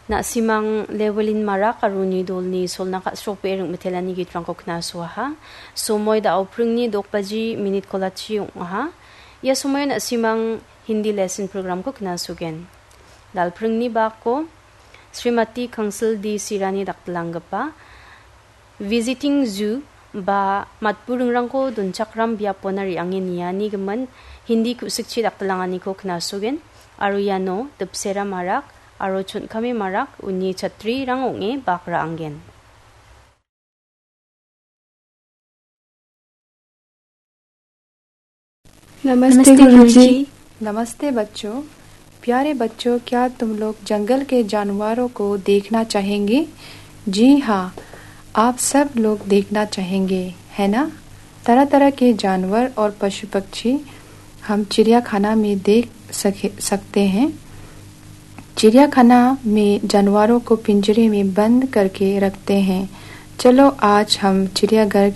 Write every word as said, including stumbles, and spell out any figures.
Na·simang Lewelin Marak aro uni dolni solna ka·srokbe ring·mitelani gitrangko knasuaha. Somoi da·o pringni dok baji minit kolachi ong·aha. Ia somoio na·simang Hindi lesson programko knasugen. Dalpringni bako Srimati Kangsil D Sirani dakdilanggipa Visiting Zoo ba matburingrangko donchakram biapona re·ange niani gimin Hindi ku·sikchi dakdilanganiko knasugen, aro iano Dipsera Marak aro Chon·kame Marak uni chatrirang ong·e bak ra·angen. नमस्ते नमस्ते गुरुजी। गुरुजी। नमस्ते बच्चों। प्यारे बच्चों, क्या तुम लोग जंगल के जानवरों को देखना चाहेंगे? जी हाँ, आप सब लोग देखना चाहेंगे, है ना? तरह तरह के जानवर और पशु पक्षी हम चिड़ियाखाना में देख सके, सकते हैं। चिड़ियाखाना में जानवरों को पिंजरे में बंद करके रखते हैं। चलो, आज हम चिड़ियाघर